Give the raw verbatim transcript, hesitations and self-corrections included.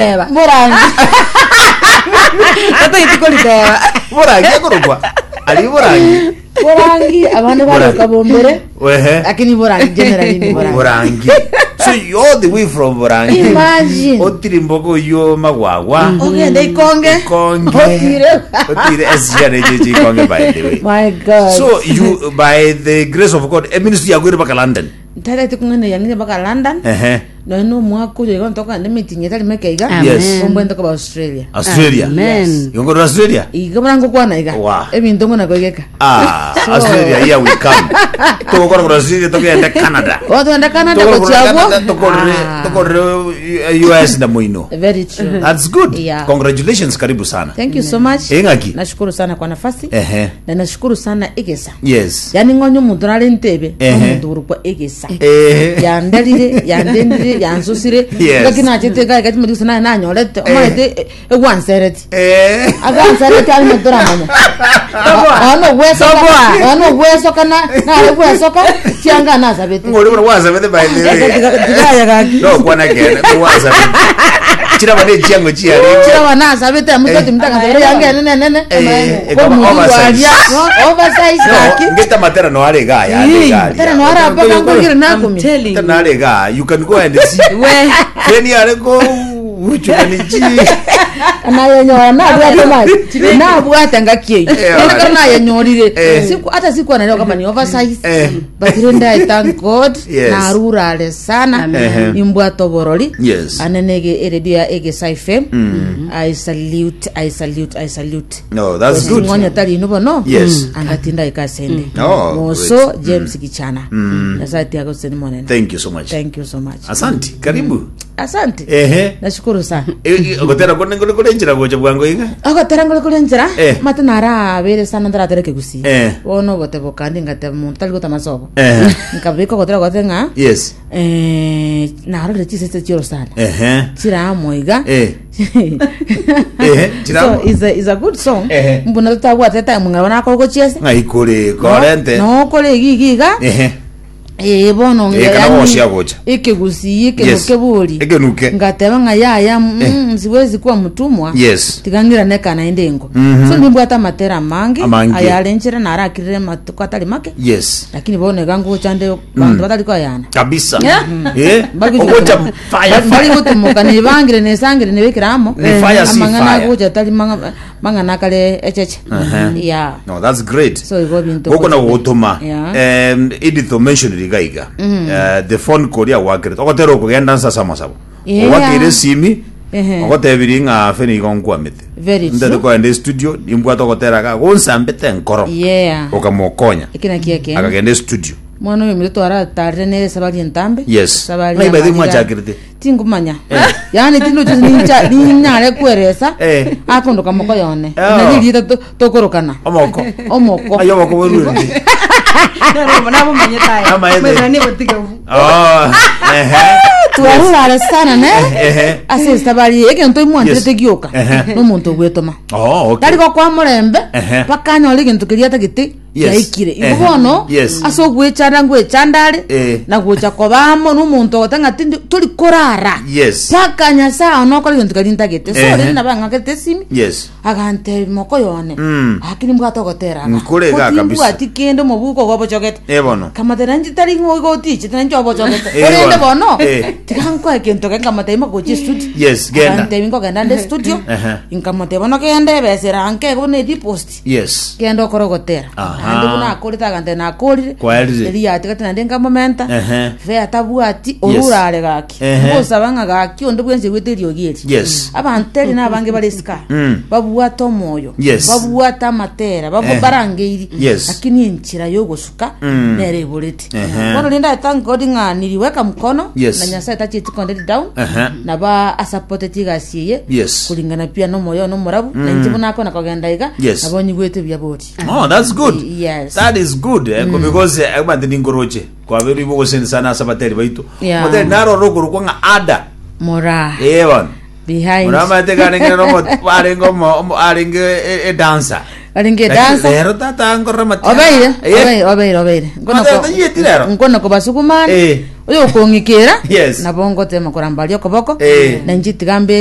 Eba. Borangi. Tataiti koriteba. Borangi ekorokwa ari borangi. Borangi abande Borangi. baroka bombere. Wehe. Lakini borangi generally ni borangi. Borangi. So you all the way from Borangi. Imagine. Otiri mboko yo magwagwa. Ogende ikonge. Ikonge. Otire. Otire S G R J J Ikonge, by the way. My God. So you, by the grace of God, e ministry yakwire paka London. Tataiti kung'ana yang'ine mpaka London. Ehe. Nono omwaka oyo igo ntoka ndi meeting etari meke iga. Amen. Yes. Ombwente koba Australia. Australia. Amen. You go to Australia? Igo mara ngokwana iga. Wow. Ebinto ngona koigeka. Ah, Australia, here we come. Tugokora kura Australia, tugende Canada. Otwenda Canada Tugokora kura gochiagwo. Canada, tukorere tukorere U S na muino. Very true. That's good. Yeah. Congratulations, karibu sana. Thank you so much. Engaki. Nashukuru sana kwa nafasi. Ehe. Na nashukuru sana Egesa. Yes. Yani ng'onye omonto nare ntebe Ehe. omonto orokwa Egesa. Eh. Yandarire, yandendire, yansusire. Yes. Ngaki nachete gai gati mudisa naye nanyorete omarete egwansereti. Eh. Agansereti ari moto ramanya ono gwesoka, ono gwesoka na nare gwesoka chianga nasabete. Ngori bora wasabete, by the way. Tigaya gaki. No kwana kene wasabete. Chira bane chiango chiare. Chiraba nasabete amutoti mutanga yange nene nene. Eh, ekaba oversize. Oversize gaki. No, ngeta matera no are ga ya are ga. Tera no ara paka ngogire I'm nakumi. telling Tera you. no are ga. You can go and see. We. Keni are go uchuganichi. Nayenyora nabwate maji nabwate ngakieyo. Eh, Ndio nayenyorire. Eh. Siku hata siku anaelewa kama ni oversize. Eh. But renda, I thank God. Yes. Narurale sana. Ehe. Imbwate oborori. Yes. Anenege eredio ya Egesa F M, I salute, I salute, I salute. No, that's good. Ng'onya tari ino bono. Yes. Angatinda ikasende. Oh, moso great. James Kichana, nyasaye tiagoseni monene. Thank you so much. Thank you so much. Asante. Karibu. Asante. Ehe. Nashukuru sana. Gotera kone ngole kole njira gocha bwango iga. Agotera ngole kule nzira. Eh. Mate narabere sana ndaratere gusi. Eh. Bono bote bokandi ngate muntu tali gotamasobo. Eh. Nkabika gotera gote ng'a Yes. eh narorere chisese chiro sana. Ehe. Chiramoiga. Eh. Eh, chiramo. So is a, is a good song. Ehe. Mbuna tutabwate time ngabona akogochiesa. Ng'ai kore korente. No kore igigiga. Ehe. Eh, bono. Eh, kana wocia gocha. Ikigusi Yes. ikenuke buri. Ekenuke. Ngateba ng'a yaya, mm, siwezi kuwa mtumwa. Yes. Tigangira nekana inde ngo. Mhm. So nimbwata matera mangi. Amange. Ayalenchera narakirire matuko atari make. Yes. Lakini bono iga nguchande bantu batari koyana. Kabisa. Eh. Bari Ogocha gutumoka- fire. bari Fire. gutumoka nibangire nesangire nibikiramo. Ni fire, si amang'ana fire. agucha atari mang'a- mang'ana akare echeche. Uh-huh. Yeah. No, that's great. So igo bintu Goko na gutuma. Yeah. Um Edith mentioned iga iga. Eh, the phone call ya wakire. Ogotera okugenda nsasa masabo. Yeah. Owakire simi. Ehe. Ogotebiri ng'a feni igo nkwamete. Very true. Ndete koenda studio nimbwate ogotera ga gonsambete nkoro. Yeah. Okamokonya. Ekina kieke. Akagenda studio. Mwana oyo mito twaratarire nere sabari entambe. Yes. Sabari. Ng'ai by the way ya mwachakirete? Tingumanya, yani tindocho nincha ninyare kweresa. Eh. Akondoka moko yone. Oh. Nalirieta tokorokana. Omoko. Omoko. Ayo omoko werurindi. Nabumanyete aya. Amaete. Mwethera nibotige. Oh. Ehe. Twarurare sana ne. Ehe. Ase sabari egento imwantirete Yes. gioka. Ehe. Nomonto ogwetoma. Oh, okay. Tari gokwa murembe. Ehe. Bakanyora egento keria atagete. Yes. Yaikire igo Ehe. bono. Yes. Ase ogwechanda ngwechandare. Eh. Na gocha kobamo nomonto ogota ng'a tindi tori korara. Yes. Paka nyasaye onokora egento keria ntagete. So Ehe. rende nabang'akete esimi. Yes. Agante moko yone. Mm. Akini mbwate ogotera. Nkore iga kabisa. Mbwati kende omobuko gobochogete. Eh bono. Kamatera nchi tari ng'o gotiche tena nchi obochogete. Eh, Orende bono. bono. Eh. Tiga nkoe kento ke nkamate ima gochi studio. Yes, genda. Agante nkogenda nde studio. Ehe. Nkamate bono kende ebesera nke bono edipost. Yes. Kende okora ogotera. Aha. Naende buna akorete agante nakorire. Kwaerire. Eri yatigate naende nkamomenta. Ehe. Fe atabwati orurare gaki. Ehe. Ngosaba ng'a gaki onde bwensi gwete eriogi eri. Yes. Abantu eri nabange bare sika. Mm. Babwate omoyo. Yes. Babwate amatera. Babu Eh. barangeiri. Yes. Lakini enchera yogosuka Mm. nere iborete. Ehe. Bono rende I thank God ng'a niliweka mkono. Yes. Na Nyasaye tachieti kondeti down. Ehe. Naba asapoteti egasi eye. Yes. Kulingana pia nomoyo nomorabu. Na inche buna akona kogenda iga. Yes. Nabo nyigwete buya bori. Oh, that's good. Yes. That is good. Eh, because eh abantu ningoroche. Kwaberu ibo gosensana asa bateri baitu. Yeah. Moteri naro rokoro kwa ng'a ada. Mora. Eh bon. Behind. Muramate karenge no arenge mo arenge e dancer. Aringe dansa. Lero tata ngorora matianga. Obeire, Eh. obeire, obeire, obeire. Nkono Matata ko- yeti rero? Nkono kobasukumana. Eh. Oyo okong'ikera. Yes. Nabo ngotema korambaria okoboko. Eh. Na inche tiga mbe